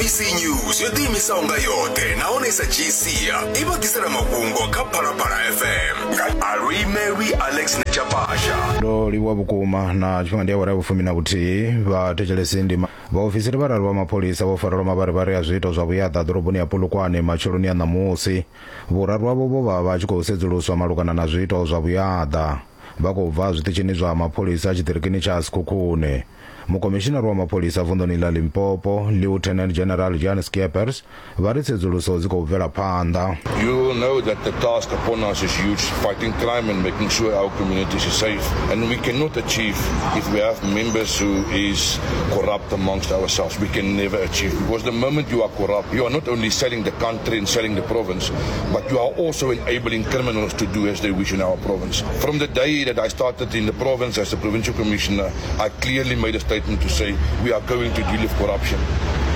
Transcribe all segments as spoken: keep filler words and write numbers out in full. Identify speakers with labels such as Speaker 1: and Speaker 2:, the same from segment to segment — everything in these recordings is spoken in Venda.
Speaker 1: S A B C News yo ḓiimisaho nga yoṱhe nahone sa dzhii sia i vha ḓisela mafhungo kha Phalaphala F M nga Aluimelwi Alex Nechapasha.
Speaker 2: Ndo livhuwa vhukuma na tshifhinga ndi awara ya vhufumi na vhuthihi vha thetshelesi ndi vhaofisiri vhararu vha mapholisa vho farelwa mavharivhari a zwiito zwa vhuyaḓa ḓoroboni ya Polokwane matsheloni ya ṋamusi. Vhuraru havho vho vha vha tshi khou sedzuluswa malugana na zwiito zwa vhuyaḓa. Vha khou bva zwiṱitshini zwa mapholisa tshiṱirikini tsha Sekhukhune. Mukomishinari wa mapholisa vunḓuni ḽa Limpopo, Lieutenant General Jan Skeepers, vha ri tsedzuluso dzi khou bvela phanḓa.
Speaker 3: You will know that the task upon us is huge, fighting crime and making sure our communities are safe. And we cannot achieve if we have members who is corrupt amongst ourselves. We can never achieve, because the moment you are corrupt, you are not only selling the country and selling the province, but you are also enabling criminals to do as they wish in our province. From the day that I started in the province as the provincial commissioner, I clearly made a statement to say we are going to deal with corruption,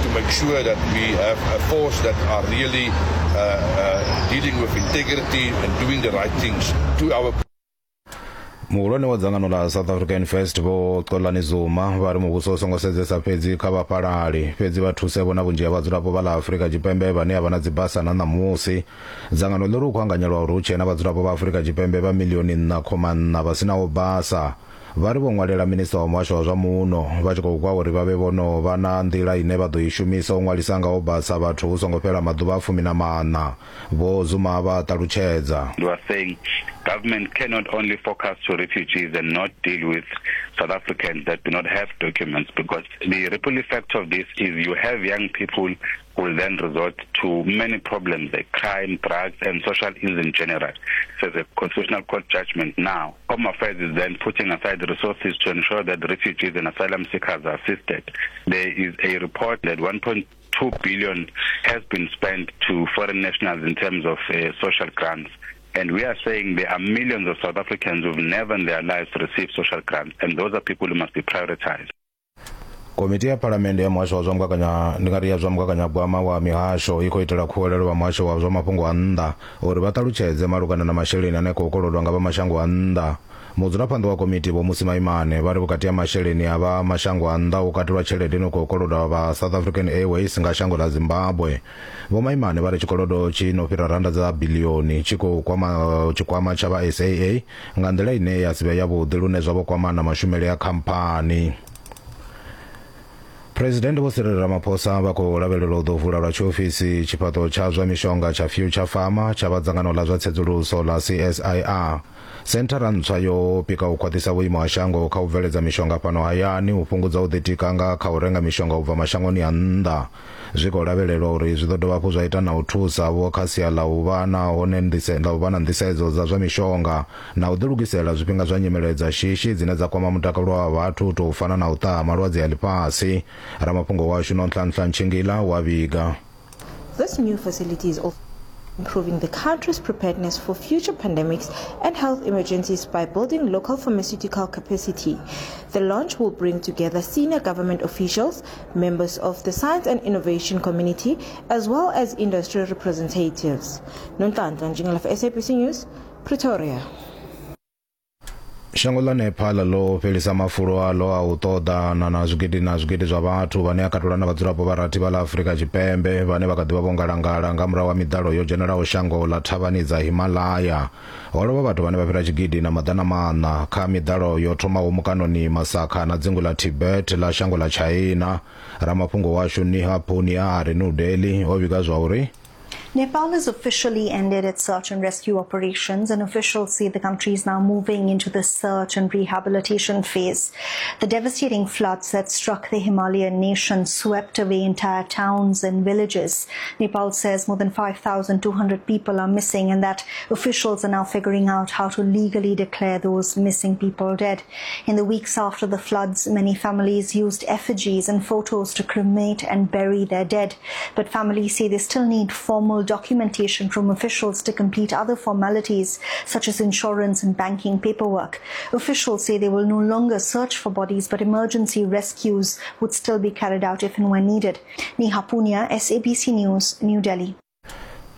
Speaker 3: to make sure that we have a force that are really uh, uh, dealing with integrity and doing the right things to our.
Speaker 2: Muhulwane wa dzangano ḽa South African First Vho Xolani Zuma vha ri muvhuso u songo sedzesa fhedzi kha vhafhalali, fhedzi vha thuse vhona vhunzhi ha vhadzulapo vha ḽa Afrika Tshipembe vhane a vha na dzibasa na ṋamusi. Dzangano ḽi ri u khou anganyelwa uri hu tshee na vhadzulapo vha Afrika Tshipembe vha milioni nṋa khoma nṋa vha sinaho basa. Vha ri vho ṅwalela minista wa muhasho wa zwa muno vha tshi khou gwa uri vha vhe vho no vha na nḓila ine vha ḓo i shumisa u ṅwalisa ngaho basa vhathu hu songo fhela maḓuvha a fumi na maṋa. Vho Zuma vha ṱalutshedza.
Speaker 4: We are saying government cannot only focus to refugees and not deal with South Africans that do not have documents, because the ripple effect of this is you have young people who will then resort to many problems like crime, drugs, and social ills in general. So the Constitutional Court judgment now, Home Affairs is then putting aside resources to ensure that refugees and asylum seekers are assisted. There is a report that one point two billion has been spent to foreign nationals in terms of uh, social grants. And we are saying there are millions of South Africans who've never in their lives received social grants, and those are people who must be prioritized.
Speaker 2: Komiti ya Phalamennde ya muhasho wa zwa mugaganya ndi nga ri ya zwa mugaganyagwama wa mihasho i khou itela khuwelelo vha muhasho wa zwa mafhungo a nnḓa uri vha ṱalutshedze malugana na masheleni ane a khou kolodwa nga vha mashango a nnḓa. Mudzulaphanḓa wa komiti Vho Musi Maimane vha ri vhukati ha masheleni a vha mashango a nnḓa u katelwa tshelede ino khou kolodwa vha South African Airways nga shango ḽa Zimbabwe. Vho Maimane vha ri tshikolodo tshi no fhira randa dza bilioni tshi khou kwama tshikwama tsha vha S A A nga nḓila ine ya si vhe yavhuḓi lune zwa vho kwama na mashumele a khamphani. President Vho Cyril Ramaphosa vha khou lavhelelwa u ḓo vula lwa tshiofisi tshifhaṱo tsha zwa mishonga tsha Future Pharma tsha vha dzangano ḽa zwa tsedzuluso ḽa C S I R. Senthara ntswa yo pika u khwaṱhisa vhuimo ha shango kha u bveledza mishonga fhano hayani, u fhungudza u ḓitika nga kha u renga mishonga u bva mashangoni a nnḓa. Zwi khou lavhelelwa uri zwi ḓo dovha hafhu zwa ita na u thusa vho kha sia ḽa u vha na hone nḓise ḽa u vha na nḓisedzo dza zwa mishonga na u ḓilugisela zwifhinga zwa nyimele dza shishi dzine dza kwama mutakalo wa vhathu u tou fana na u ṱaha malwadze a ḽifhasi. Ramafhungo washu Nonhlanhla Ntshingila wa vhiga.
Speaker 5: This new facility is also improving the country's preparedness for future pandemics and health emergencies by building local pharmaceutical capacity. The launch will bring together senior government officials, members of the science and innovation community, as well as industry representatives. Nonhlanhla Ntshingila for S A B C News, Pretoria.
Speaker 2: Shango ḽa Nepal ḽo fhelisa mafulo aḽo a u ṱoḓana na zwigidi na zwigidi zwa vhathu vhane a katelwa na vhadzulapo vha rathi vha ḽa Afrika Tshipembe vhane vha kha ḓi vha vho ngalangala nga murahu ha miḓalo yo dzhenelaho shango ḽa thavhani dza Himalaya. Ho lovha vhathu vhane vha fhira tshigidi na maḓana maṋa kha miḓalo yo thomaho mukanoni Masakha na dzingu ḽa Tibet ḽa shango ḽa China. Ramafhungo washu Niha Punia a re New Delhi o vhiga zwa uri
Speaker 6: Nepal has officially ended its search and rescue operations, and officials say the country is now moving into the search and rehabilitation phase. The devastating floods that struck the Himalayan nation swept away entire towns and villages. Nepal says more than five thousand two hundred people are missing and that officials are now figuring out how to legally declare those missing people dead. In the weeks after the floods, many families used effigies and photos to cremate and bury their dead. But families say they still need formal documentation from officials to complete other formalities such as insurance and banking paperwork. Officials say they will no longer search for bodies, but emergency rescues would still be carried out if and when needed. Neha Punia, S A B C News, New Delhi.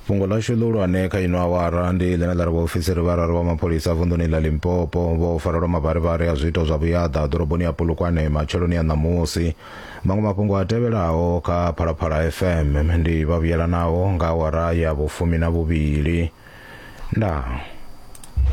Speaker 2: Fhungo ḽashu ḽihulwane kha ino awara ndi ḽine ḽa ri vhaofisiri vhararu vha mapholisa vunḓuni ḽa Limpopo vho farelwa mavharivhari a zwiito zwa vhuyaḓa ḓoroboni ya Polokwane matsheloni a ṋamusi. Maṅwe mafhungo a tevhelaho kha Phalaphala F M ndi vha vhuyelanaho nga awara ya vhufumi na vhuvhili. Ndaa.